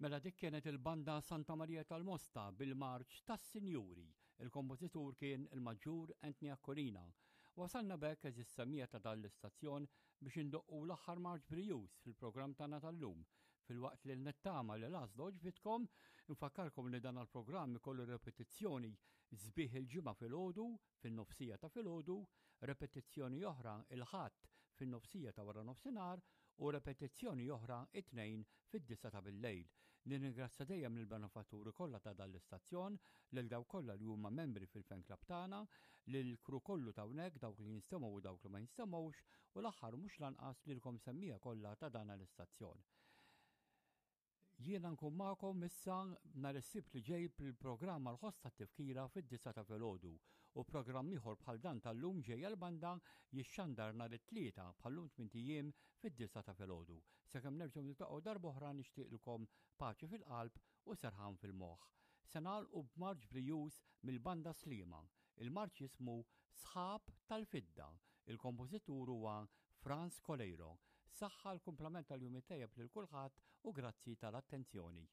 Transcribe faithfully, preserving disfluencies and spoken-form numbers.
Mela dik kienet il-banda Santa Maria tal-Mosta bil-marċ tas-Sinjuri. Il-kompożitur kien il-Maġġur Anthony Aquilina. Wasalna b'hekk, għeżież semmiegħa ta' dan l-istazzjon, biex indoqqu l-aħħar marċ brijuż fil-programm tagħna tal-lum. Filwaqt li nittama li l-għażla għoġbitkom, infakkarkom li dan il-programm ikollu repetizzjoni sbieħ il-Ġimgħa filgħodu, fin-nofsija ta' filgħodu, repetizzjoni oħra il-Ħadd fin-nofsija ta' wara nofsinhar u repetizzjoni oħra it-Tnejn fid-disgħa ta' bil-lejl. Nirringrazzja dejjem lill-benefatturi kollha ta' dan l-istazzjon, lil dawk kollha li huma membri fil-fan club tagħna, lil kru kollu ta' hawnhekk, dawk li jinstemgħu u dawk li ma jinstemgħux, u l-aħħar mhux lanqas lilkom semmiegħa kollha ta' dan l-istazzjon. Jiena nkun magħkom issa nhar is-Sibt li ġej bil-programm għal-ħoss tat-tifkira fid-disgħa ta' filgħodu u programm ieħor bħal dan tal-lum, Ġejja l-Banda, jixxandar nhar it-Tlieta bħal-lum tmint ijiem fid-disgħa ta' filgħodu. Sakemm nerġgħu niltaqgħu darb'oħra, nixtieqilkom paċi fil-qalb u serħan fil-moħħ. Se nagħlqu b'marċ brijuż mill-Banda Sliema. Il-marċ jismu Sħab tal-Fidda. Il-kompożitur huwa Franz Coleiro. Saħħa, l-kumplament tal-jum it-tajjeb lil kulħadd u grazzi tal-attenzjoni.